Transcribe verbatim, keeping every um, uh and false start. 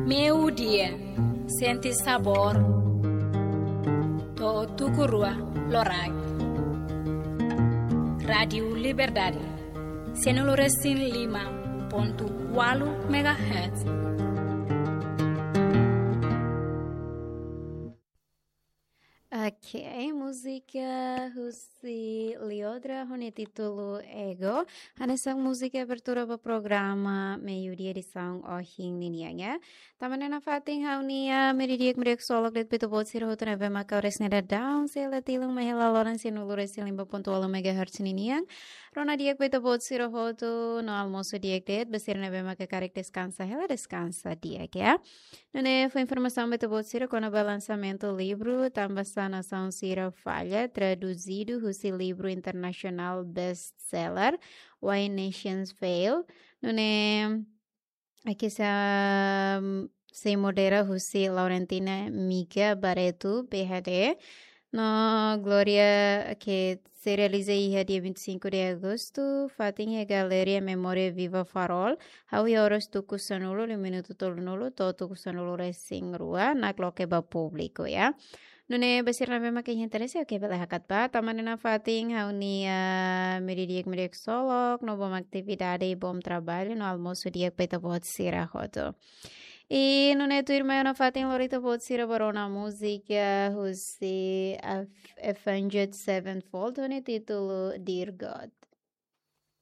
Meiudia, sente sabór. To'o tuku rua loraik. Rádiu Liberdade, sianulu resin lima pontu ualu megahertz. Ok, múzika husi Liodra ho nia títulu Ego. Hanesan múzika abertura ba programa Meiudia edisaun ohin ninian, ya. Tanba ne'e nafatin ha'u-nia meiudia di'ak, meiudia ksolok de'it ba ita-boot sira hotu ne'ebé maka oras ne'e daudaun sei la tilun mai hela loron sianulu resin lima pontu ualu megahertz ninian. Rona di'ak ba ita-boot sira hotu no almosu di'ak de'it, ba sira ne'ebé maka karik deskansa hela, deskansa di'ak, ya. Nune'e fó informasaun ba ita-boot sira kona-ba lansamentu livru Tanba Sá Nasaun Sira Falla, traduzidu husi livru internasionál best-seller Why Nations Fail. Nune'e hanesan sei modera husi Laurentina Miga Barreto, P H D. No Glória, ke sei realiza iha dia vinte e cinco de agosto, fatin iha Galeria Memória Viva Farol, hahú iha oras tuku sanulu, liu minutu tolunulu, to'o tuku sanulu resin rua, nakloke ba públiku, ya. Nune'e ba sira ne'ebé maka iha interese, oke, bele hakat bá, tanba ne'e nafatin ha'u-nia meiudia di'ak, meiudia ksolok, no bom atividade, bom trabalho, no almosu di'ak ba ita-boot sira hotu. I nune'e tuirmai ha'u nafatin lori ita-boot sira ba rona múzika husi Af-, Avenged Sevenfold, ho nia títulu Dear God.